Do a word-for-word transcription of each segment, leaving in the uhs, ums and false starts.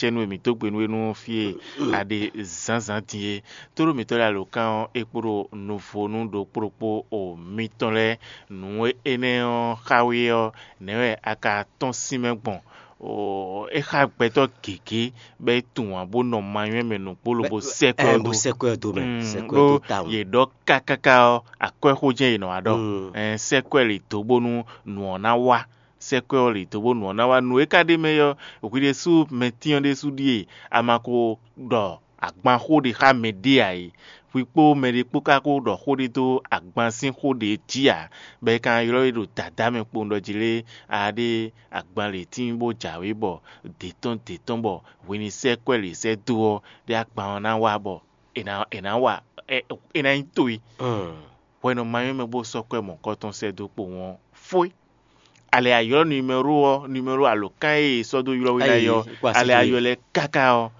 cɛ́nú e mǐ dó gbe nú we nú fí e a ɖe zǎnzǎn din é. Tóɖó mǐtɔn lɛ́ɛ alǒkan ɔ́, é kpo ɖo nuvonu ɖokpó ɖokpó o mitɔn lɛ́ɛ. Nǔ énɛ́ ɔ́ xa we ɔ́, nɛ̌ wɛ a ka tɔ́n sín mɛ gbɔn? É xa gbɛtɔ́ gěgé bɔ é tunwun ǎ bó nɔ manywɛ́ mɛ nǔgbó lobo sɛ́ kwɛ́ ɔ́ dó. Sɛ́ kwɛ́ ɔ́ dó mɛ, sɛ́ kwɛ́ ɔ́ dó tawun. Yě ɖɔ kákáká ɔ́, akwɛ́xó jɛ́n yě nɔ wá ɖɔ. Ɛn sɛ́ kwɛ́ lě dó bónú nǔ ɔ́ ná wá. Sɛ́ kwɛ́ ɔ́ lě dó bónú nǔ ɔ́ ná wá. Nǔ e ka ɖ'é mɛ é ɔ́, hwi ɖésú mɛtín ɔ́ ɖésú ɖíe a ma ko ɖɔ agban xó ɖé xá mɛɖé ǎ é. Hwi kpó mɛɖé kpó ka ko ɖɔ xó ɖé dó agban sín xó ɖě jí ǎ, bɔ è ka ylɔ́ we ɖo dǎdá mɛ kpowun ɖɔ jí lé, a ɖe agban lě tíin bó jǎwe bɔ dě tɔn dě tɔn bɔ hwi ní sɛ́ kwɛ́ lě sɛ́ dó ɔ́, ɖé agban ɔ́ ná wá bɔ è nǎ è nǎ wa è nǎ nyí towe. Hwɛ nɔ ma nyɔ́ mɛ bó sɔ́ kwɛ́ mɔ̌kɔtɔn sɛ́ dó kpowun ɔ́ fó é. A lɛ a ylɔ́ numɛ́ro ɔ́, numɛ́ro alǒkan e è sɔ́ dó ylɔ́ we ná é ɔ́, a lɛ a ylɔ́ lɛ káká ɔ́,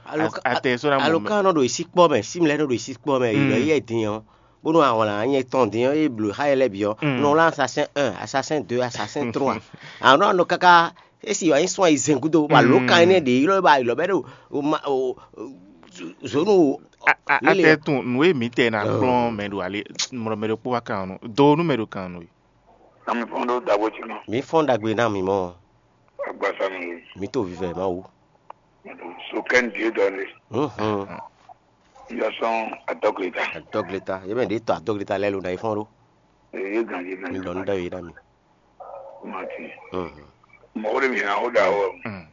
a tɛ sɔ́ ná mɔ mɛ. Alǒkan nɔ ɖo yě sí kpɔ́ mɛ, símlɛ́ nɔ ɖo yě sí kpɔ́ mɛ, yě ɖɔ yɛ din ɔ́, bónú a wlǎn nyɛ tɔn din ɔ́, é blǒ xá yɛ lɛ́ɛ bǐ ɔ́, nɔ wlán assassin un, assassin deux, assassin trois. A nɔ nɔ káká é sì wá nyí sɔ́n ayizɛ́n gúdo, bɔ alǒkan énɛ́ ɖě ylɔ́ bɔ a ylɔ́ bɛ ɖo zǒnu. A tɛ tunwun nǔ e mǐ tɛ ná kplɔ́n mɛ ɖo ali mlɔ mɛ ɖokpó wá kan ɔ́ nu, do nú mɛ ɖo kan ɔ́ nu. Ami fɔn ɖó dabo jí nɔ. Mǐ fɔ́n ɖagbe ná mǐ mɔ. Agbasa mi. Mǐ to vivɛ Mawu. So kɛn die dɔ ne. Mhm. Yɔ sɔn adɔgleta. Adɔgleta. Yɛ mɛ ɖe tɔ adɔgleta lɛ lo na yi fɔn ɖo. Ye gan ye gan. Mi lɔ nu da yi na mi. Mati. Mhm. Mɔgɔ de mi na o da o. Mm.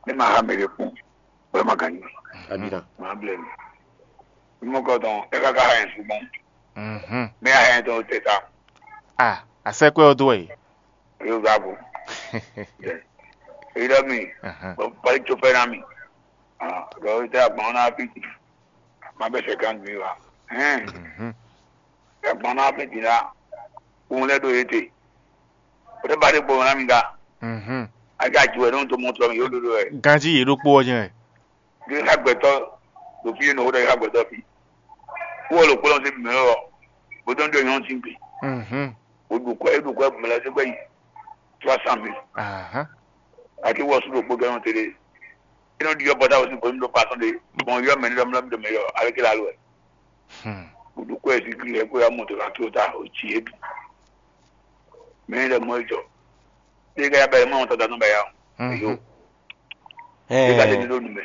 Ne ma ha mɛ de kun. Wala ma gan. Abina. Ma blɛ mi. Mo kɔ tɔn e ka ka ha yɛn su gbɔn. Mhm. Ne a ha yɛn tɔn o te ta. Ah, a sɛ kwɛ o do yi. Yo ga bo. Eyi ɖɔ mi, bɔ bali tso fɛ na mi. Ɖɔ o tɛ agbɔn na fi ti. Ma bɛ sɛ kan mi wa. Hɛn. Agbɔn na fi ti la. Kun lɛ do ye te. O tɛ ba de gbɔ na mi ga. A ka ju wɛ n'o to mɔ tɔ mi yo dodo wɛ. Ganji yě ɖokpó ɔ́ jɛ́n. Ɖé xá gbɛtɔ́ ɖo fí e nɔ xó ɖɔ xá gbɛtɔ́ fí. Wó lɔ kplɔ́n sí mǐ ɔ́, bó dɔn ɖó nyɔ̌nu sín gbe. Wó ɖu kwɛ, é ɖu kwɛ mɛ lɛ́ɛ sɛgbɛ yi trois cent mille. Ati wɔ sú ɖokpó gɛ́ nɔ tɛɖe. É nɔ ɖiɖɔ bɔta wɔ sín gbɔn ɖo pasɔn ɖe, gbɔn yɔ mɛ ní ɖɔ mlɔ mi ɖo mɛ yɔ, aleke la lo wɛ. Wó ɖu kwɛ sí kí lɛ kó ya mɔ tó la tó ta, o tsi é bì. Mɛ ní ɖɔ mɔ é jɔ. Ɖé ká ya bɛ mɔ tɔta nɔ bɛ ya o. Yo. Ɖé ká tɛ ní ɖo nu mɛ.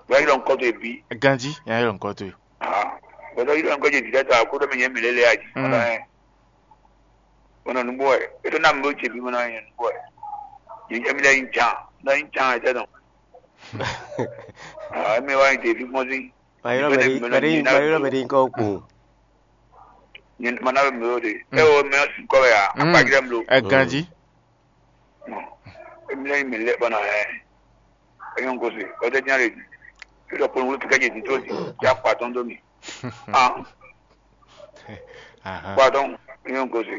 Wɛ yɔ nkɔ to ebi. Ganji, ya yɔ nkɔ to. Ah, wɛ dɔ yɔ nkɔ je dida ta ko dɔ mi nyɛ mi lele aji. Wala ɛ. Wala nugbo ɛ. E to na mi bo che bi mo na nyɛ nugbo ɛ. Nyɛ nyɛ mi lɛ yin chan. Na yin chan ɛ tɛ dɔn. Ah, mi wa yin te bi mo si. Mayɔrɔ bɛ di, bɛ di, mayɔrɔ bɛ di nkɔ kpo. Nyɛ ma na bɛ mi o de. E o mi si kɔ bɛ ya. Akpa jira mi lo. Ɛ ganji. Emi lɛ mi lɛ bana ɛ. Eyan gosi, o de jan le. Ilo pon wulu kika je tin to ti. Ja kwa ton do mi. Ah. Aha. Kwa ton, eyan gosi.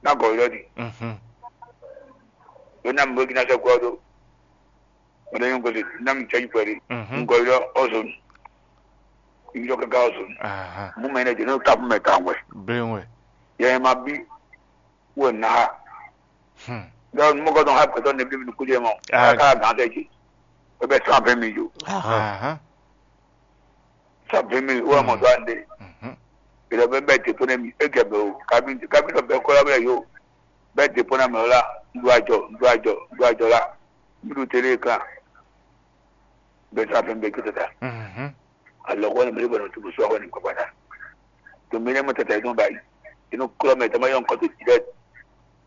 Na go lo di. Mhm. Yo na mbo gina se kwa do. O de eyan gosi, na mi chaji pere. Mhm. Ngo lo ozon. Ijo kaka ozon. Aha. Mu mɛ ne de no tapu mɛ tawɛ. Blenwe. Ye ma bi. Wɛ na ha. Hmm. Donc mo ko don ha ko don ne bi mi ku je mo. Ah. Ka gan de ji. O be sa be mi yo. Aha. Sa be mi wa mo do ande. Mhm. Ilo be be te pone mi e ke be o. Ka bi ka bi no be ko la be yo. Be te pone mi la. Ndu ajo, ndu ajo, ndu ajo la. Mi du tele kan. Be sa be be ke ta. Mhm. Alɔgɔ́ ni mɛ bɔ nɔ tubu sɔgɔ ni kɔkɔta. To mi ne mo tata idun bai. Inu klɔ mɛ tama yɔn kɔto ti dɛ.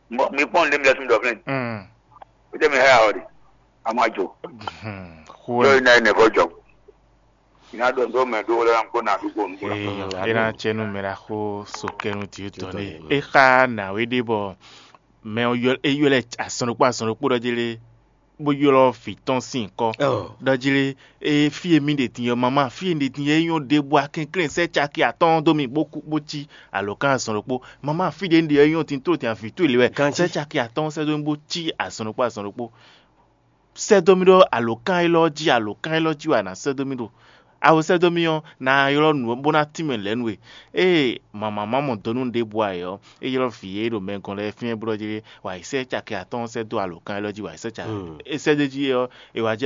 Mo mi pɔn le mi la tun dɔ fɛn. Mm. O tɛ mi hɛ awɔ de. A ma jo. Hmm. Yɔ ina ne ko jɔ. Ina dɔ ndo mɛ do la ko na du ko ndu la. Ee, ena tsɛnu mɛ la xo sokɛnu ti tɔ ne. E xa na we de bɔ mɛ o yɔ e yɔ lɛ asɔnukpo asɔnukpo dɔ jele. Bó ylɔ́ vǐ tɔn sín nyǐkɔ. Ɖɔ jí lé, fí e mì ɖe din ɔ́, mamá, fí e un ɖe din ɔ́, é nyɔ́ ɖěbǔ, a kɛnklɛ́n sɛ́ caki atɔ́ɔ́n dó mì bó kú bó cí alǒkan azɔn ɖokpó. Mamá, fí ɖě un ɖe ɔ́, é nyɔ́ din tló din avǐ towe lě wɛ. Sɛ́ caki atɔ́ɔ́n sɛ́ dó mì bó cí azɔn ɖokpó azɔn ɖokpó. Sɛ́ dó mì ɖó alǒkan élɔ́ jí, alǒkan élɔ́ jí wɛ a nǎ sɛ́ dó mì ɖo. A ko sɛ́ dó mì ɔ́, nǎ ylɔ́ nǔ ɔ́ bó ná tínmɛ lɛ̌ nú we. Ée mamǎ ma mɔ dɔ́ nú ɖěbǔ ǎ é ɔ́, é ylɔ́ vǐ e ɖo mɛ gɔ́n lɛ́ɛ fínɛ́ blɔ́ jí wǎ yi sɛ́ caki atɔ́ɔ́n sɛ́ dó alǒkan élɔ́ jí, wǎ yi sɛ́ caki é sɛ́ dó jí é ɔ́, è wǎ jɛ